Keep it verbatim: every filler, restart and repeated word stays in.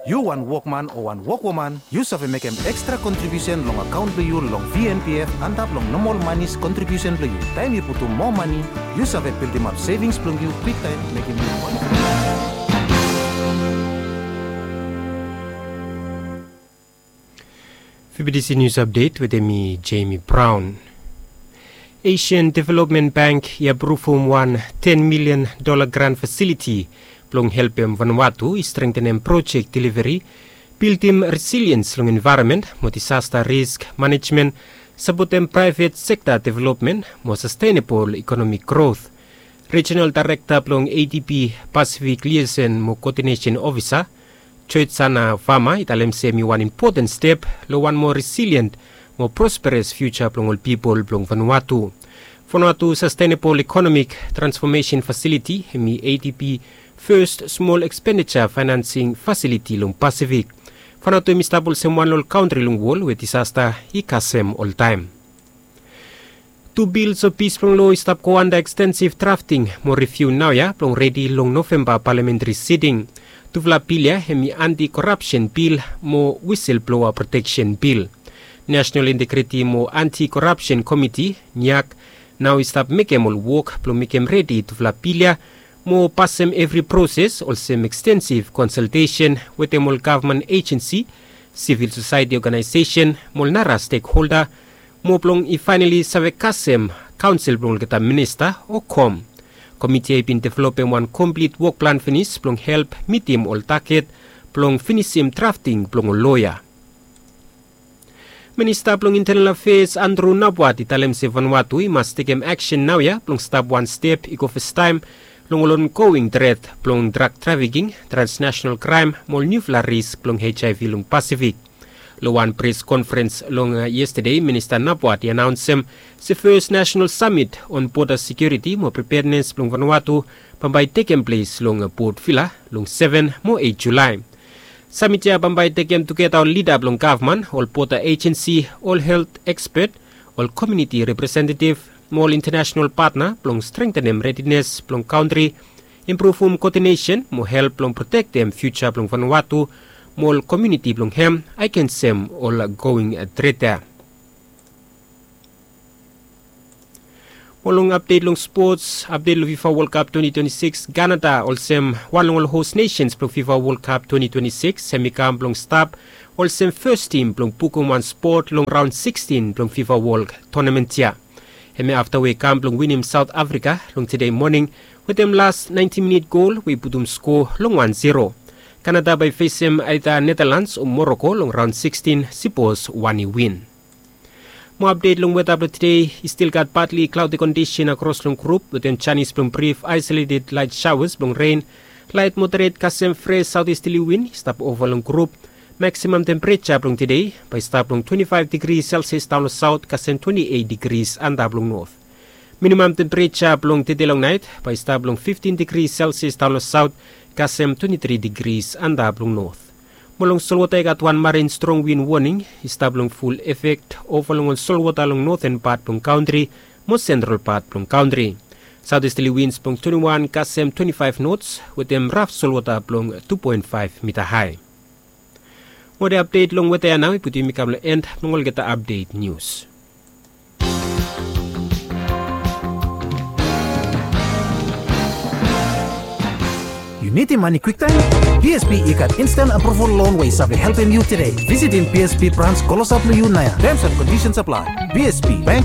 Yu wan wokman o wan wokwoman, yu save mekem ekstra kontribiusen long akaon blong yu long V N P F antap long nomol manis kontribiusen blong yu. Taem yu putum moa mani, yu save bildimap sevings blong yu kwiktaem, mekem yu wan. F B T C News Update wetem mi, Jamie Brown. Asian Development Bank i apruvum wan ten milian dola grant fasiliti blong helpem Vanuatu i strengtenem projek deliveri, bildim resiliens long envaeronmen mo disasta risk manejmen, sapotem praevet sekta developmen mo sastenabol ekonomik grot. Rejinal Daerekta blong A D B Pasifik Liason mo Koodinesen Ofisa, Joetsana Vama, i talem se hemi wan impoten step long wan moa resilien mo prosperes fiuja blong ol pipol blong Vanuatu. Vanuatu Sastenabol Ekonomik Transfomesen Fasiliti hemi A D B fes smol ekspendija faenansing fasiliti long Pasifik. Vanuatu hemi stap olsem wan long ol kantri long wol we disasta i kasem oltaem. Tu bills of peace blong loa i stap go anda ekstensiv drafting mo riviu naoia blong redi long Novemba palamentri siting. Tufala bil ia hemi anti-korapsen bil mo wiselbloa proteksen bil. National Integriti mo Anti-Korapsen Komiti, niak, nao i stap mekem ol wok blong mekem redi tufala bil ia mo pasem evri proses olsem ekstensiv konsaltesen wetem ol gavman ejensi, sivil sosaeti oganaesesen mo ol nara stekholda, mo blong i faenali save kasem kaonsel blong olgeta minista o kom. Komiti ia i bin developem wan komplit wok plan finis blong help mitim ol taget blong finisim drafting blong ol loa ia. Minista blong Intenal Afeas Andrew Nabwat i talem se Vanuatu i mas tekem aksen naoia blong stap wan step i go fastaem long ol ongoing tret blong drag trafiking, transnasenal kraem mo ol niufala risk blong H I V long Pasifik. Long wan pres konferens long yestade, Minista Nabwat i anaonsem se fes nasenal samit on boda sekiuriti mo pripednes blong Vanuatu bambae i tekem ples long Port Vila long seven mo eight Julae. Samit ia bambae i tekem tugeta ol lida blong gavman, ol boda ejensi, ol helt ekspet, ol komuniti representetiv mo ol intanasenal patna blong strengtenem redines blong kantri, impruvum koodinesen mo help blong protektem fiuja blong Vanuatu mo ol komuniti blong hem agensem ol ongoing tret ia. Mo long apdet long spots, apdet long FIFA World Cup twenty twenty-six, Kanada olsem wan long ol hos nesens blong FIFA World Cup twenty twenty-six hemi kam blong stap olsem fes tim blong bukum wan spot long raon sixteen blong FIFA World tonamen ia. Hemi afta we i kam blong winim Saot Afrika long tede moning wetem las naenti minit gol we i putum skoa long wan zero. Kanada bae i fesem aeda Netalans o Moroko long raon sixteen, sipos wan i win. Mo apdet long weta blong tede, i stil gat patli klaodi kondisen akros long grup wetem janis blong brif aesoleted laet saoas blong ren, laet moderet kasem fres saotesterli win i stap ova long grup. Maksimam tempereja blong tede bae i stap long twenti faef digri selsias daon long saot kasem twenti eit digris antap long not. Minimam tempereja blong tede long naet bae i stap long fiftin digri selsias daon long saot kasem twenti tri digris antap long not. Mo long solwota i gat wan marin strong win woning i stap long ful efek ova long ol solwota long noten pat blong kantri mo sentral pat blong kantri. Saotesterli wins blong twenti wan kasem twenti faef nots wetem raf solwota blong tu poen faef mita hae. Mo ol apdet long weta ia nao i putum yumi kam long en blong olgeta apdet nius. Yu nidim mane kwiktaem? B S P i gat instan apruval lon we i save helpem yu tede. Visitim B S P brans klosap long yu naoia. Terms and conditions apply. B S P, bank